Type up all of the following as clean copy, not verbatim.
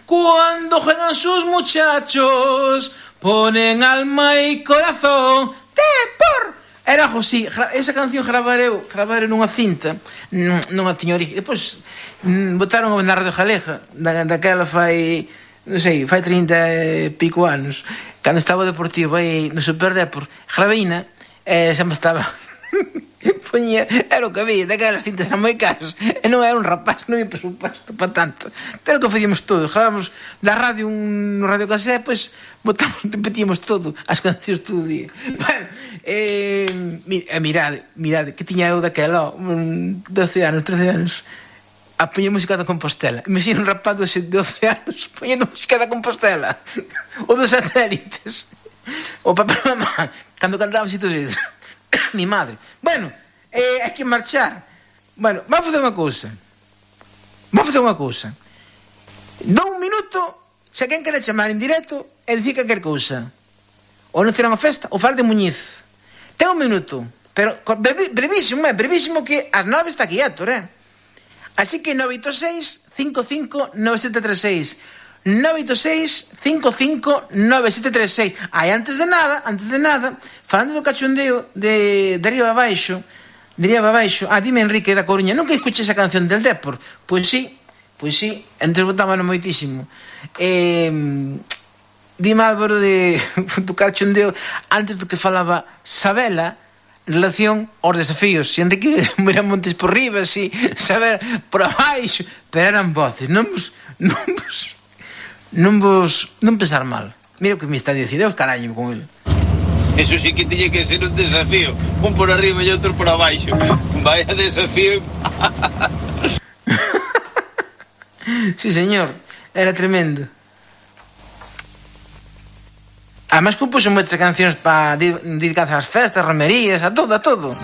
Cuando juegan sus muchachos, ponen alma y corazón. Por... Era algo así. Esa canción gravareu nunha cinta. Non a tiña origen. Depois botaron na Radio Galega. Daquela fai, non sei, fai 30 e pico anos. Cando estaba o Deportivo aí no Super Depor, graveina, xa me estaba... Poñía, era o que había, daquelas cintas eran moi caras e non era un rapaz, non ia presupuesto para tanto. Era o que facíamos todos, gravábamos da radio un radio casé, pois botamos, repetíamos todo, as cancións todo o día. Bueno, mirade, que tiña eu daquela, 12 anos, 13 anos, a poñer música da Compostela. Imagina un rapaz de 12 anos poñendo música da Compostela, ou dos satélites, o papá e mamá, cando cantábamos e todo isso. Mi madre. Bueno, hai que marchar. Bueno, vamos facer unha cousa. Dou un minuto, se quen quere chamar en directo e dicir calquer cousa. Ou non será unha festa, ou falar de Muñiz. Ten un minuto, pero brevísimo que ás 9 está aquí Héctor, Así que 986 55 9736 986-55-9736. Antes de nada, falando do cachondeo de arriba abaixo, dime Enrique da Coruña, nunca escuché esa canción del Depor? Pois sí, antes botábano moitísimo. Dime Álvaro do cachondeo antes do que falaba Sabela en relación aos desafíos. Si Enrique mira montes por riba, si saber por abaixo, pero eran voces, non pensar mal. Mira o que me está dicindo, Deus caraño con ele. Eso sí que tiñe que ser un desafío. Un por arriba e outro por abaixo. Vaya desafío. Sí, señor. Era tremendo. Además compuxo moitas cancións para dedicadas ás festas, romerías, a todo.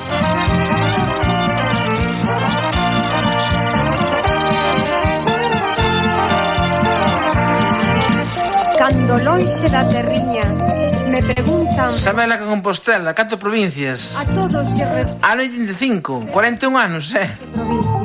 Cando lonxe da terriña me preguntan... Sabela que Compostela, 4 provincias. A todos se responde... Ano 85, 41 anos, Provincia.